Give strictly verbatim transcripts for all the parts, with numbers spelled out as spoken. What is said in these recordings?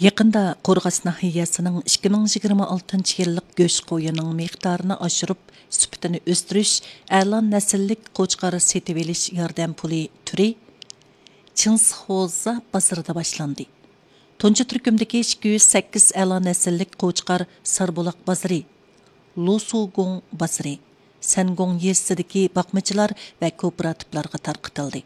يېقىندا قورغاس ناھىيەسىنىڭ ئىككى مىڭ يىگىرمە ئالتىنچى يىللىق گۆش قويىنىڭ مىقدارىنى ئاشۇرۇپ، سۈپىتىنى ئۆستۈرۈش، ئەلا نەسىللىك قوچقار سېتىۋېلىش ياردەم پۇلى تۈرى چىڭسخوزا بازىرىدا باشلاندى. تۇنجى تۈركۈمدىكى ئىككى يۈز سەككىز ئەلا نەسىللىك قوچقار ساربۇلاق بازىرى، لۇسۇگۇڭ بازىرى، سەنگۇڭ يېزىسىدىكى باقمىچىلار ۋە كوپىراتىپلارغا تارقىتىلدى.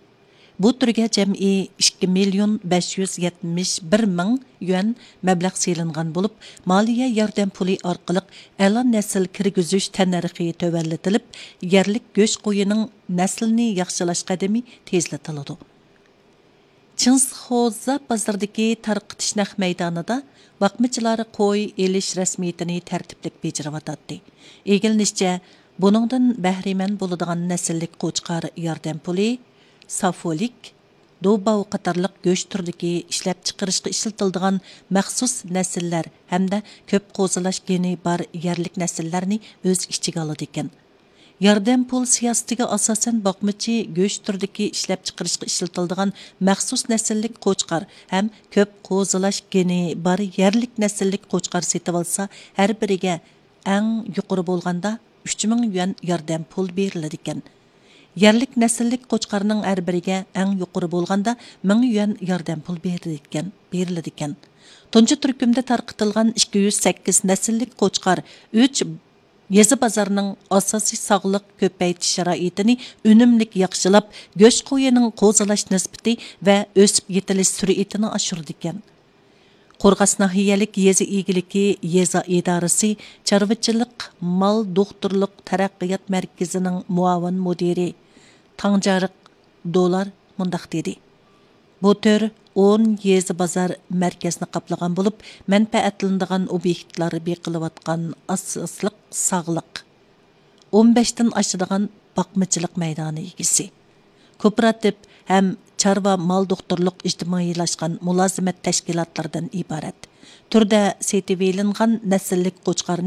بۇ تۈرگە جەمئىي ئىككى مىليون بەش يۈز يەتمىش بىر مىڭ يۈەن مەبلەغ سېلىنغان بولۇپ، مالىيە ياردەم پۇلى ئارقىلىق ئەلا نەسىل كىرگۈزۈش تەننەرخى تۆۋەنلىتىلىپ، يەرلىك گۆش قويىنىڭ نەسلىنى ياخشىلاش قەدىمى تېزلىتىلىدۇ. چىڭسخوزا بازىرىدىكى تارقىتىش نەق مەيدانىدا باقمىچىلار قوي ئېلىش رەسمىيىتىنى تەرتىپلىك بېجىرىۋاتاتتى. ئىگىلىنىشىچە، بۇنىڭدىن بەھرىمەن بولىدىغان نەسىللىك قوچقار ياردەم پۇلى، سافولىك، دوباۋ قاتارلىق گۆش تۈرىدىكى ئىشلەپچىقىرىشقا ئىشلىتىلىدىغان مەخسۇس نەسىللەر ھەمدە كۆپ قوزىلاش گېنى بار يەرلىك نەسىللەرنى ئۆز ئىچىگە ئالىدىكەن. ياردەم پۇل سىياسىتىگە ئاساسەن، باقمىچى گۆش تۈرىدىكى ئىشلەپچىقىرىشقا ئىشلىتىلىدىغان مەخسۇس نەسىللىك قوچقار ھەم كۆپ قوزىلاش گېنى بار يەرلىك نەسىللىك قوچقار سېتىۋالسا، ھەر بىرىگە ئەڭ يۇقىرى بولغاندا ئۈچ مىڭ يۈەن ياردەم پۇل بېرىلىدىكەن. يەرلىك نەسىللىك قوچقارنىڭ ھەر بىرىگە ئەڭ يۇقىرى بولغاندا مىڭ يۈەن ياردەم پۇل بېرىلىدىكەن، بېرىلىدىكەن. تۇنجى تۈركۈمدە تارقىتىلغان ئىككى يۈز سەككىز نەسىللىك قوچقار ئۈچ يېزا بازارنىڭ ئاساسىي ساغلىق كۆپەيتىش شارائىتىنى ئۈنۈملۈك ياخشىلاپ، گۆش قويىنىڭ قوزىلاش نىسبىتى ۋە ئۆسۈپ يېتىلىش سۈرئىتىنى ئاشۇرىدىكەن. قورغاس ناھىيەلىك يېزا ئىگىلىكى يېزا ئىدارىسى چارۋىچىلىق مال دوختۇرلۇق تەرەققىيات مەركىزىنىڭ مۇئاۋىن مۇدىرى تاڭجارىق دولار مۇنداق دېدى: بۇ تۈر ئون يېزا بازار مەركەزنى قاپلىغان بولۇپ، مەنپەئەتلىنىدىغان ئوبيېكتلار بېقىلىۋاتقان ئاساسلىق ساغلىق، ئون بەشتىن ئاشىدىغان باقمىچىلىق مەيدانى ئىگىسى، كوپىراتىپ ھەم چارۋا مال دوختۇرلۇق ئىجتىمائىيلاشقان مۇلازىمەت تەشكىلاتلىرىدىن ئىبارەت. تۈردە سېتىۋېلىنغان نەسىللىك قوچقارنى